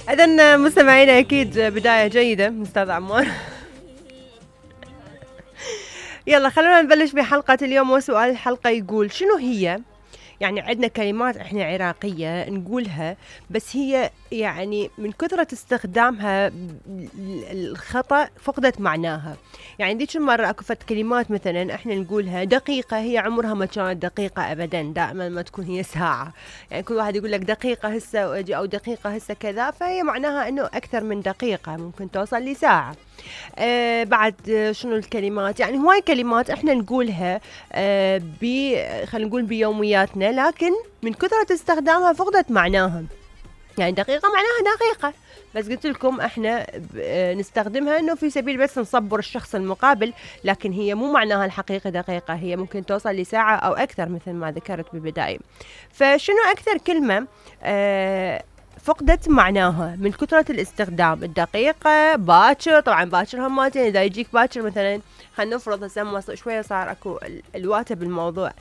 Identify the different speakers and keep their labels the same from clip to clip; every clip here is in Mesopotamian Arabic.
Speaker 1: إذن مستمعينا أكيد بداية جيدة أستاذ عمار. يلا خلونا نبلش بحلقة اليوم، وسؤال الحلقة يقول شنو هي؟ يعني عندنا كلمات احنا عراقية نقولها بس هي يعني من كثرة استخدامها الخطأ فقدت معناها. يعني ذيك المرة اكو فت كلمات مثلا احنا نقولها دقيقة، هي عمرها ما كانت دقيقة ابدا، دائما ما تكون هي ساعة. يعني كل واحد يقول لك دقيقة هسه او دقيقة هسه كذا، فهي معناها انه اكثر من دقيقة، ممكن توصل لساعة. بعد شنو الكلمات؟ يعني هواي كلمات احنا نقولها خلينا نقول بيومياتنا، لكن من كثرة استخدامها فقدت معناها. يعني دقيقة معناها دقيقة، بس قلت لكم احنا نستخدمها انه في سبيل بس نصبر الشخص المقابل، لكن هي مو معناها الحقيقي دقيقة، هي ممكن توصل لساعة او اكثر مثل ما ذكرت بالبداية. فشنو اكثر كلمة فقدت معناها من كثرة الاستخدام؟ الدقيقة، باكر. طبعا باكر هماتين، اذا يجيك باكر مثلا خلينا نفرض هسه شوية صار اكو الواتة بالموضوع،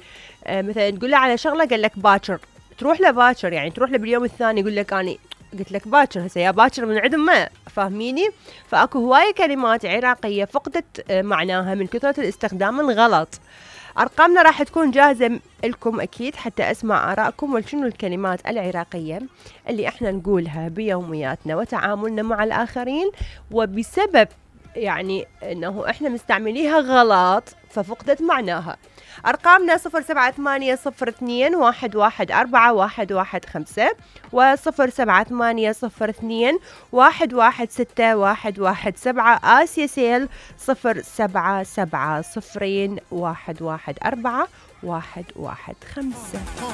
Speaker 1: مثلا تقول له على شغلة قال لك باكر، تروح له باكر، يعني تروح له باليوم الثاني يقول لك اني قلت لك باكر، هسه يا باكر من عدم ما فاهميني. فاكو هواية كلمات عراقية فقدت معناها من كثرة الاستخدام الغلط. أرقامنا راح تكون جاهزة لكم أكيد حتى أسمع آرائكم، وشنو الكلمات العراقية اللي إحنا نقولها بيومياتنا وتعاملنا مع الآخرين، وبسبب يعني أنه إحنا مستعمليها غلط ففقدت معناها. أرقامنا 078021141115 و078021161117. آسيا سيل 077011141115.